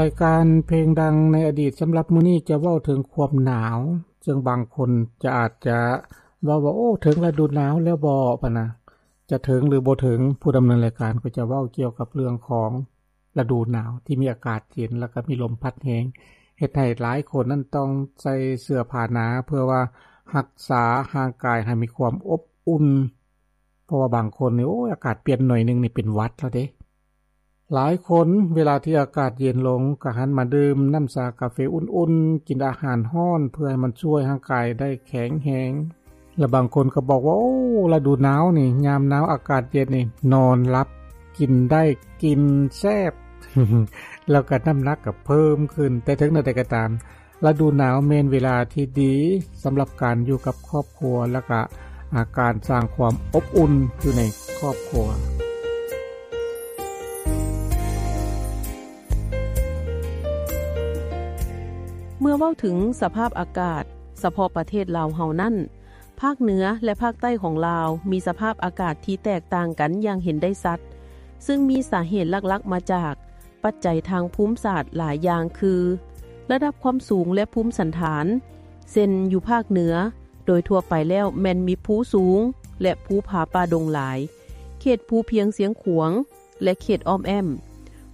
ລາຍການເພງດັງໃນອະດີດສຳລັບມື້ນີ້ຈະເວົ້າເຖິງຄວາມໜາວ, ເຊິ່ງບາງຄົນຈະອາດຈະເວົ້າວ່າ ໂອ້ ເຖິງລະດູໜາວແລ້ວບໍ ປະນະ. ຈະເຖິງຫຼືບໍ່ເຖິງ, ຜູ້ດຳເນີນລາຍການກໍຈະເວົ້າກ່ຽວກັບເລື່ອງຂອງລະດູໜາວທີ່ມີອາກາດເຢັນ ແລ້ວກໍມີລົມພັດແຮງ, ເຮັດໃຫ້ຫຼາຍຄົນນັ້ນຕ້ອງໃສ່ເສື້ອຜ້າໜາເພື່ອວ່າຮັກສາຮ່າງກາຍໃຫ້ມີຄວາມອົບອຸ່ນ. ເພາະວ່າບາງຄົນນີ້ ໂອ້ຍ ອາກາດປ່ຽນໜ້ອຍໜຶ່ງນີ້ເປັນຫວັດແລ້ວເດ້. ຫຼາຍຄົນເວລາທີ່ອາກາດເຢັນລົງ ກໍຫັນມາດື່ມນ້ຳຊາກາເຟອຸ່ນໆ, ກິນອາຫານຮ້ອນ ເພື່ອໃຫ້ມັນຊ່ວຍຮ່າງກາຍໄດ້ແຂງແຮງ. ແລະບາງຄົນກໍບອກວ່າ ໂອ້ ລະດູໜາວນີ້ ຍາມໜາວອາກາດເຢັນນີ້ ນອນຫຼັບ ກິນໄດ້ ກິນແຊບ ແລ້ວກໍນ້ຳໜັກກໍເພີ່ມຂຶ້ນ. ແຕ່ເຖິງແນວໃດກໍຕາມ, ລະດູໜາວແມ່ນເວລາທີ່ດີສຳລັບການຢູ່ກັບຄອບຄົວ ແລະກະ ອາ ການສ້າງຄວາມອົບອຸ່ນຢູ່ໃນຄອບຄົວ. ເມື່ອເວົ້າເຖິງສະພາບອາກາດສະເພາະປະເທດລາວເຮົານັ້ນ, ພາກເໜືອ ແລະ ພາກໃຕ້ຂອງລາວມີສະພາບອາກາດທີ່ແຕກຕ່າງກັນຢ່າງເຫັນໄດ້ຊັດ, ຊຶ່ງມີສາເຫດຫຼັກໆມາຈາກ ປັດໄຈທາງພູມສາດຫຼາຍຢ່າງຄື ລະດັບຄວາມສູງ ແລະ ພູມສັນຖານ, ເຊັ່ນ ຢູ່ພາກເໜືອ ໂດຍທົ່ວໄປແລ້ວແມ່ນມີພູສູງ ແລະ ພູຜາປ່າດົງຫຼາຍ, ເຂດພູພຽງຊຽງຂວາງ ແລະ ເຂດອ້ອມແອ້ມ.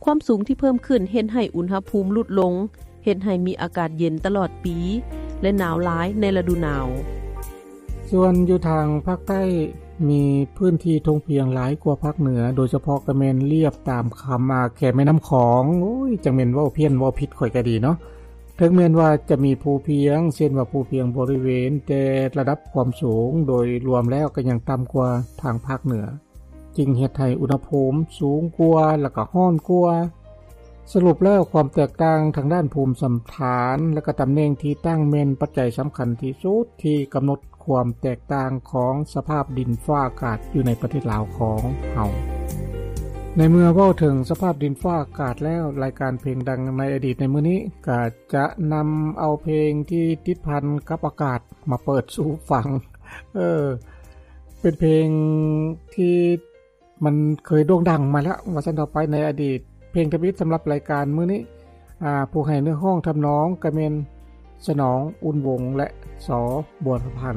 ຄວາມສູງທີ່ເພີ່ມຂຶ້ນເຮັດໃຫ້ອຸນຫະພູມຫຼຸດລົງ, ເຮັດໃຫ້ມີອາກາດເຢັນຕະຫຼອດປີ ແລະ ໜາວຫຼາຍໃນລະດູໜາວ. ສ່ວນຢູ່ທາງພາກໃຕ້ ມີພື້ນທີ່ທົ່ງພຽງຫຼາຍກວ່າພາກເໜືອ, ໂດຍສະເພາະກໍແມ່ນລຽບຕາມຄຳ ອາ ແຄມແມ່ນ້ຳຂອງ. ໂອ້ຍ ຈັ່ງແມ່ນເວົ້າພຽນເວົ້າຜິດຂ້ອຍກໍດີເນາະ. ເຖິງແມ່ນວ່າຈະມີພູພຽງ ເຊັ່ນວ່າພູພຽງບໍລິເວນ, ແຕ່ລະດັບຄວາມສູງໂດຍລວມແລ້ວກໍຍັງຕ່ຳກວ່າທາງພາກເໜືອ. ຈຶ່ງເຮັດໃຫ້ອຸນຫະພູມສູງກວ່າ ແລ້ວກໍຮ້ອນກວ່າ. ສະຫຼຸບແລ້ວ ຄວາມແຕກຕ່າງທາງດ້ານພູມສັນຖານ ແລະກະຕຳແໜ່ງທີ່ຕັ້ງແມ່ນປັດໄຈສຳຄັນທີ່ສຸດທີ່ກຳນົດຄວາມແຕກຕ່າງຂອງສະພາບດິນຟ້າອາກາດຢູ່ໃນປະເທດລາວຂອງເຮົາ. ໃນເມື່ອເວົ້າເຖິງສະພາບດິນຟ້າອາກາດແລ້ວ, ລາຍການເພງດັງໃນອະດີດໃນມື້ນີ້ ກະຈະນຳເອົາເພງທີ່ຕິດພັນກັບອາກາດມາເປີດສູ່ຟັງ. ເອີ ເປັນເພງທີ່ມັນເຄີຍໂດ່ງດັງມາແລ້ວ ວ່າຊັ້ນເຖາະໄປ ໃນອະດີດ. ເພງທຳອິດສຳລັບລາຍການມື້ນີ້ ອາ ຜູ້ໃຫ້ເນື້ອຮ້ອງທຳນອງກໍແມ່ນ ສະໜອງ ອຸ່ນວົງ ແລະ ສ ບົວລະພັນ.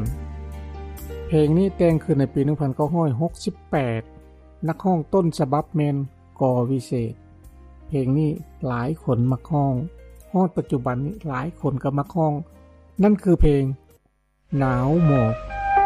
ເພງນີ້ແຕ່ງຂຶ້ນໃນປີໜຶ່ງພັນເກົ້າຮ້ອຍຫົກສິບແປດ, ນັກຮ້ອງຕົ້ນສະບັບແມ່ນ ກ ວິເສດ. ເພງນີ້ຫຼາຍຄົນມັກຮ້ອງ, ຮອດປັດຈຸບັນນີ້ຫຼາຍຄົນກໍມັກຮ້ອງ, ນັ້ນຄືເພງ ໜາວໝອກ.